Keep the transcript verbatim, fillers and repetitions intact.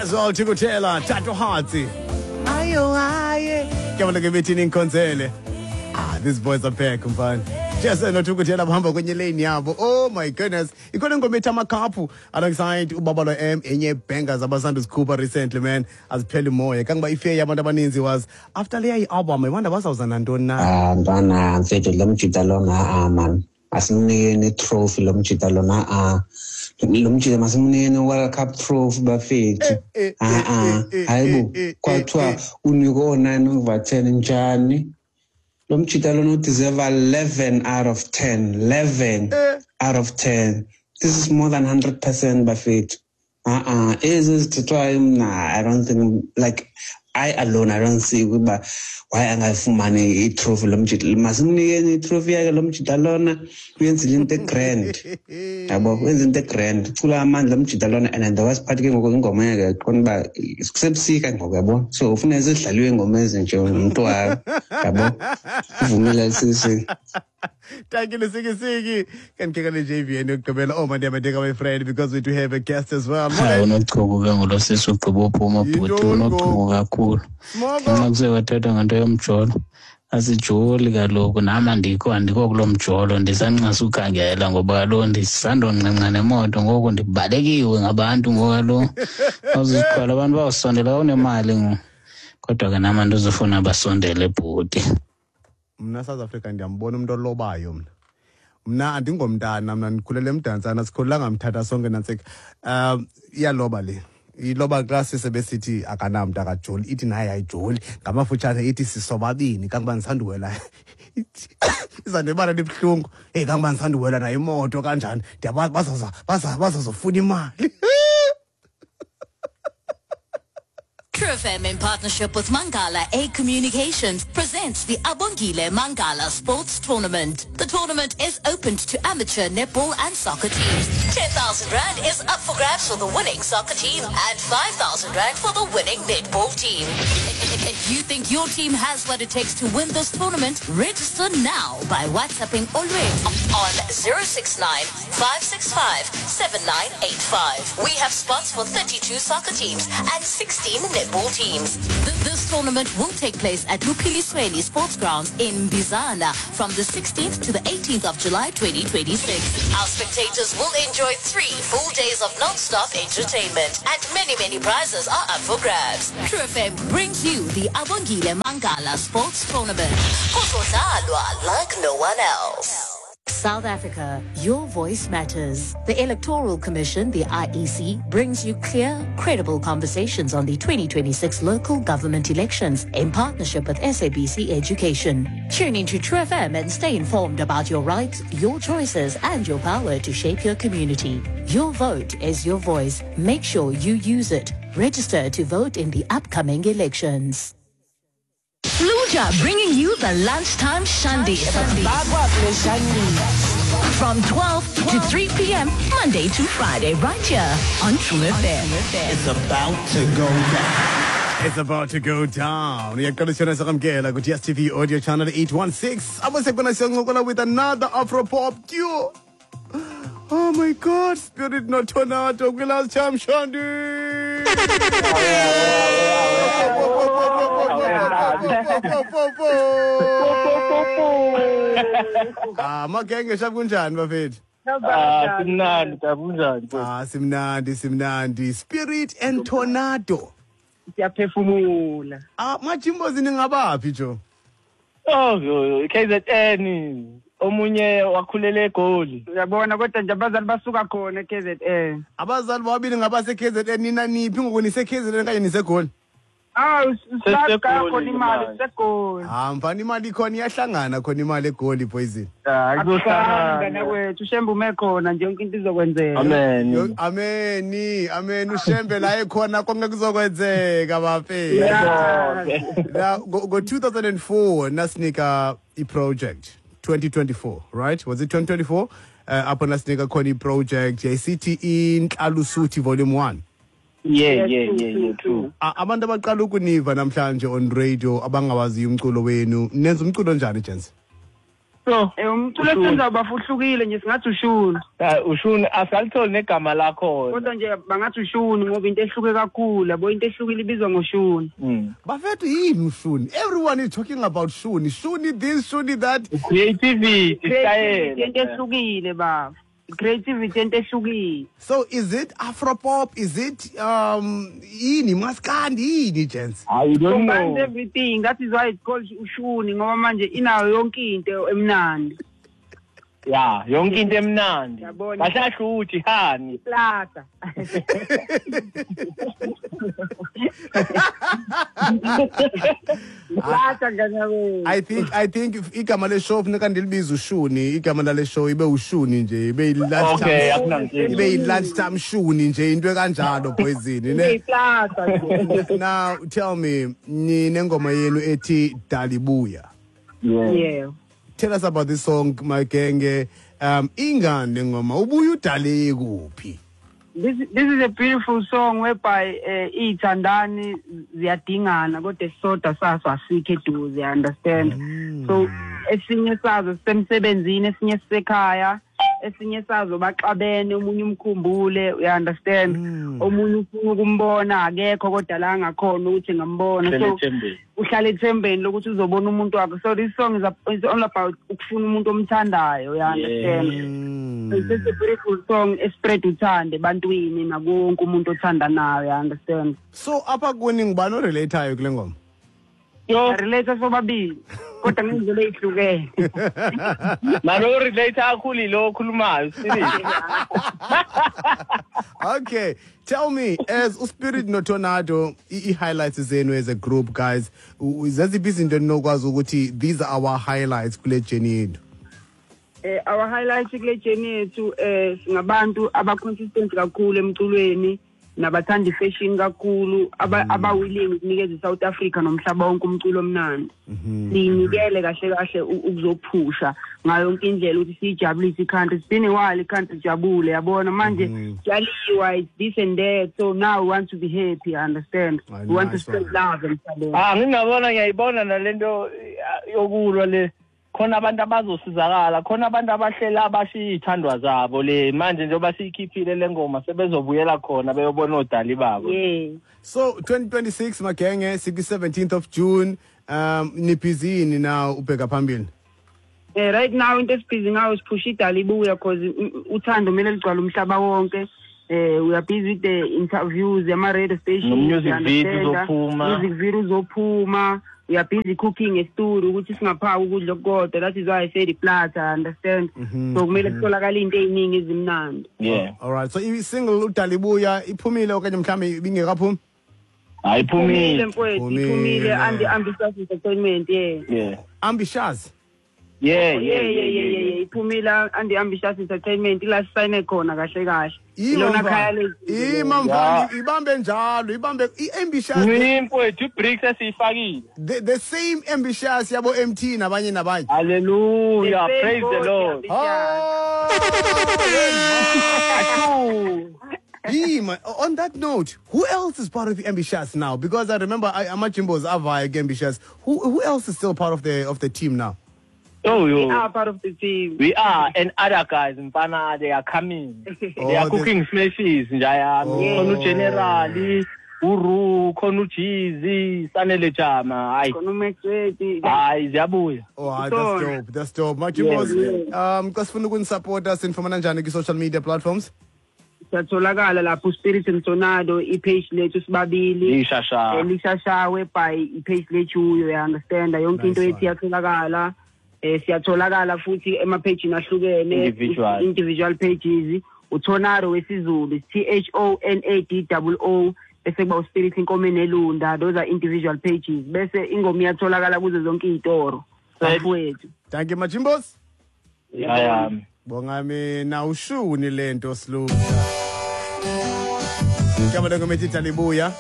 As well Thukutela, Thatohatsi. Ayo aye. Ke bona ke bethini inkonzele. Ah, these boys are back mfana. Jesse noThukutela bahamba kwenye lane yabo. Oh my goodness. Ikhona ingoma ethi Amakhaphu alongside uBabalo M, enye bangers abasanda uzikhupha recently, man. Azipheli moya. Kangoba ifear yabantu abaninzi was after leya i-album, I wonder bazawuza nantoni na. Ah, mntwana mfethu, lo mjita lona, ah man, asimnikeni trophy lo mjita lona. Ah, lo mjita masimnikeni World Cup trophy bafethu. Eh, eh, Ah ah, eh, eh, hayibo, eh, eh, kwathiwa eh. unikwe o-nine over ten njani? Lo mjita lona udeserve eleven out of ten. eleven Eh. out of ten. This is more than one hundred percent bafethu. Ah ah, ezi zithethwayo mna I don't think, like, I alone, I don't see ukuba why angayifumani itrophy lo mjita. Masimnikeni itrophy yakhe lo mjita lona, uyenzile into egrand. Yabo, wenza into egrand. Ucula amandla lo mjita lona, and the worst part ke ngoku ingoma yakhe qonda uba kusebusika ngoku, yabo. So ufuna zidlaliwe ingoma ezinje nomntu wakho. Yabo. Uvumile sisi. Thank you, Siki Siki. Can kick on the J V N yokugqibela. Oh my dear, my dear, my friend, because we do have a guest as well. Hayi, unochuku ke ngulo sisi ugqiba uphuma bhuti. Yintoni Unochuku kakhulu. Smoko. Nxa kuse kwathethwa ngento yomjolo, asijoli kaloku, nam andikho andikho kulo mjolo, ndisanxasa ukhangela ngoba kaloku ndisandonqenqa nemoto ngoku, ndibalekiwe ngabantu ngoku kaloku awuziqala abantu bawusondela xa unemali ngoku, kodwa ke nam andizufuna basondele bhuti. Mna South Africa ndiyambona umuntu olobayo mna. Mna andingomntana, mna ndikhulele eMdantsana, sikhulelanga Mthatha sonke nantsika. Um iyaloba le. Iloba xa sisebesithi akanamntu, akajoli, ithi naye ayijoli. Ngamafutshane ithi sisobabini kangoba ndisanduwela. Izandibala libuhlungu. Hey, kangoba ndisanduwela nayo imoto kanjani. Ndiyabazi bazaza baza bazazofuna imali. True F M, in partnership with Mangala A Communications, presents the Abongile Mangala Sports Tournament. The tournament is open to amateur netball and soccer teams. ten thousand rand is up for grabs for the winning soccer team and five thousand rand for the winning netball team. If you think your team has what it takes to win this tournament, register now by WhatsApping Olwethu on zero six nine five six five seven nine eight five. We have spots for thirty-two soccer teams and sixteen netball teams. Th- This tournament will take place at Luphilisweni Sports Grounds in Bizana from the sixteenth to the eighteenth of July twenty twenty-six. Our spectators will enjoy three full days of non-stop entertainment, and many, many prizes are up for grabs. True F M brings you the Abongile Mangala Sports Tournament. Kuzodlalwa like no one else. South Africa, your voice matters. The Electoral Commission, the I E C, brings you clear, credible conversations on the twenty twenty-six local government elections in partnership with S A B C Education. Tune into True F M and stay informed about your rights, your choices, and your power to shape your community. Your vote is your voice. Make sure you use it. Register to vote in the upcoming elections. Fluja bringing you the lunchtime shandy from twelve to three p m. Monday to Friday, right here on True F M. It's about to go down. It's about to go down. Uyaqala siyona sakamkela ku D S T V audio channel eight one six. Abo sekubona siyancokola with another Afro pop duo. Oh my God, Spirit no Tornado kwi Lunchtime Shandy. Ah, magenge, shap, kunjani bafethu? Ah, simnandi, tata, kunjani? Ah, simnandi, simnandi. Spirit and Tornado. Siyaphefumula. Ah, majimbozi, ningabaphi jo? Oh, yo, K Z N. Omunye wakhulela eGoli. Uyabona, kodwa nje abazali basuka khona e K Z N. Abazali bobabili ngabase K Z N. Nina niphi ngoku, nise K Z N kanye niseGoli? Ah, Sesegoli khona imali manje. Segoli. Ah, mfana, imali ikhona, iyahlangana khona imali eGoli, poison. Ah, Mngane kuzohlangana. wethu, uShembe ume khona nje, yonke into izokwenzeka. Amen. Yo, ameni, amen. UShembe la ekhona konke kuzokwenzeka bafethu. Yebo. Now go, go two thousand four nasinika i-project twenty twenty-four, right? Was it twenty twenty-four? Uh, apho nasinika khona i-project yayisithi Inhlalusuthi Volume one. Yeah, Yes, yeah, true, yeah, true, yeah, true. A- abantu abaqala ukuniva namhlanje on radio, abangawaziyo umculo wenu, nenza umculo njani, gents? So Eh umculo esenza bafuhlukile nje singathi ushuni. Ah ushuni asalitholi negama lakho. Kodwa nje bangathi ushuni ngoba into ehluke kakhulu, yabo into ehlukile ibizwa ngoshuni. Mm. Bafethu yini ushuni? Everyone is talking about shuni. Shuni this, shuni that. Creativity, style. Into ehlukile baba. Creativity into ehlukile. So is it Afropop? Is it um yini maskandi yini gents? I don't know. Combines everything. That is why it's called ushuni ngoba manje inayo yonke into emnandi. Yeah, yonke into emnandi. Yabona. Kahle uthi hani. Plata. Plata ngane. I think I think if igama le show funeka ndilibize ushuni, igama lale show ibe ushuni nje, ibe lunch Okay, time. akunankinga. Ibe lunch time shuni nje into ekanjalo poison ne. Plata nje. Now tell me ninengoma yenu ethi Dalibuya. Yeah. Yeah. Tell us about this song my genge. Um ingane ngoma ubuya udale kuphi? This this is a beautiful song whereby uh, ithandani ziyadingana kodwa sodwa saso asikho eduze, you understand? Mm. So esinye sazo sisemsebenzini, esinye sisekhaya, esinye sazo baxabene, omunye umkhumbule, you understand? Mm. Omunye ufuna ukumbona akekho kodwa la ngakhona ukuthi ngambona. So uhlala ethembeni lokuthi uzobona umuntu wakhe. So this song is, a, is all about ukufuna umuntu omthandayo, you understand? Mm. So it's just a beautiful song espread uthando ebantwini nakonke umuntu othanda nayo, you understand? So apha kuni ngubani orelatayo kule ngoma? Yo, relate sobabili kodwa ngendlela ezihlukene. Maro relate kakhulu lo okhulumayo serious. Okay, tell me as uSpirit noTornado i highlights zenu as a group guys, zeziphi izinto enokwazi ukuthi these are our highlights kule journey yethu? Eh our highlights kule journey yethu eh singabantu aba consistent kakhulu emculweni nabathanda ifashion kakhulu, aba abawilling ukunikeza iSouth Africa nomhlaba wonke umculo omnandi. Sinikele kahle kahle ukuzophusha ngayo yonke indlela ukuthi sijabulise i-country. It's been a while i-country ijabule, yabona manje kuyaliwa, it's this and that. So now we want to be happy, understand? We want to spread love emhlabeni. Ah ngingabona ngiyayibona nalento yokulwa le. Khona abantu abazosizakala, khona abantu abahlela abashiya ithandwa zabo le manje njengoba siyikhiphile lengoma sebezobuyela khona beyobona odali babo. Yeah. So twenty twenty-six magenge siku seventeenth of June, um nibusy now ubheka phambili. Eh right now into esibhizi ngayo siphusha iDalibuya because uthando kumele ligcwale umhlaba wonke. Eh we are busy with the interviews ama radio stations, music video uzophuma, music video uzophuma. We are busy cooking a studio ukuthi singaphaka ukudla kodwa. That is why I say the platter, understand? Mm -hmm. So kumele kutholakala into eziningi ezimnandi. Yeah. All right. So i single uDalibuya iphumile okanye mhlambe ibingekaphumi? Ayiphumile mfowethu, iphumile and Ambitious Entertainment, yeah. Yeah. Ambitious. Yeah, yeah, yeah, yeah, yeah, yeah. Iphumile and Ambitious Entertainment ila sign khona kahle kahle. Ilona khaya lezi. Imamfana ibambe njalo, ibambe iambitious. Mfowethu iBricks esiyifakile. The the same ambitious yabo M T nabanye nabanye. Hallelujah, praise the Lord. Oh. Yeah, on that note, who else is part of the Ambitious now? Because I remember I Amajimbos Avaya Ambitious. Who who else is still part of the of the team now? Oh, we are part of the team. We are, and other guys in Pana, they are coming. Oh, they are cooking smashes. Njaya, khona uGeneral, Uru, khona uJeezy, Sanele Jama. Hayi. Khona uMaxwethu. Hayi, ziyabuya. Oh, that's dope. That's dope. Majimbos, um, xa sifuna ukunisupporta sinifumana njani ku social media platforms? Siyatholakala lapho Spirit and Tornado, i-page lethu sibabili. Lishasha. Lishashawe by i-page lethu, you understand? Yonke into yethu iyatholakala. Eh siyatholakala futhi ema-page ahlukene, individual individual pages. uTornado wesiZulu T H O N A D O O, bese kuba uSpirit Inkomo Nelunda. Those are individual pages. Bese ingoma iyatholakala kuzo zonke izitoro bafowethu. Thank you Majimbos. Yeah. Bonga mina ushuni lento siluka. Kama lengo methi Dalibuya.